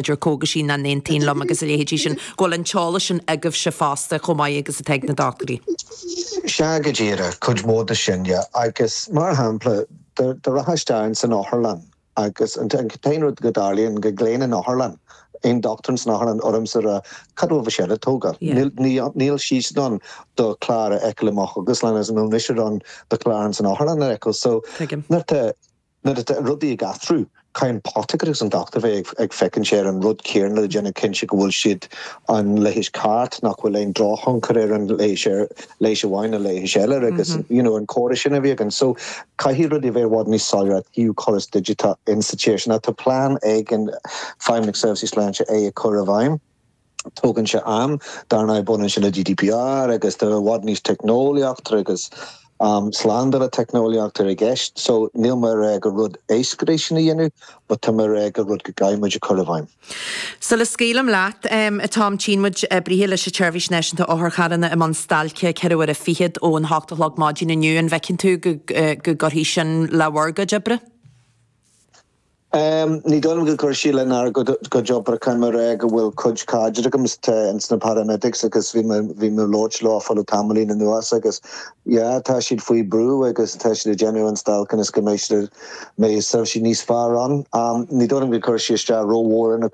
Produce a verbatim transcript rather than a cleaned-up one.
Idir cógaisí nach n-aontaíonn liom agus a leithéidí sin, go bhfuil an t-eolas sin agaibhse fosta chomh maith agus atá ag na dochtúirí. Sea go díreach cuid mhór de sin yeah. agus mar shampla do rachfá isteach san otharlann agus an t-aon rud go dtarlaíonn go nglaonn an otharlann aon dochtúir san otharlann ormsa rá cad bhfuil sé le tógáil. Níl siad ann do chlár a fheiceáil amach agus lean an mise an do chlár san otharlann a fheiceáil so nuair atá rudaí ag athrú caithfidh an potacar agus an dochtúir bheith ag féachaint sé ar an rud céanna le déanamh cinnte go bhfuil siad an leigheas ceart nach bhfuil aon drochthionchar ar an leigheas ar leigheas amháin na leigheas eile agus you know, an córas sin a bhí againn. So caithfidh rudaí bheith bhfad níos soiléire fiú córas digiteach insa Tá plean ag an Feidhmeannacht Seirbhísí Sláinte é a chur i bhfeidhm. Tógann sé am dar ndóigh baineann sé le GDPR agus tá i bhfad níos teicneolaíocht agus um, slándáil teicneolaíocht ar i gceist, so níl mé ag rá gur rud éasca é sin a dhéanamh, but tá mé ag rá gur rud go gcaithfimid a chur i bhfeidhm. So le scaoileadh leat um, atá muid oibrithe leis an tSeirbhís Náisiúnta Otharcharranna i mbun stailce ceithre huaire fichead ón hocht a chlog maidin inniu an bhfeiceann tú go go gcuirfidh sin le bhur gcuid oibre? Um, ní dóigh go gcuirfidh sé lenár gcuid oibre mar go bhfuil cuid cairde agam ins na paramedics agus bhí bhí mé labhairt leo le tamaillín anuas agus yeah, tá siad faoi brú agus tá siad ag déanamh an stailc is go mbeidh mbeidh seirbhísí níos fearr ann. Um, ní dóigh go gcuirfidh sé isteach rómhór na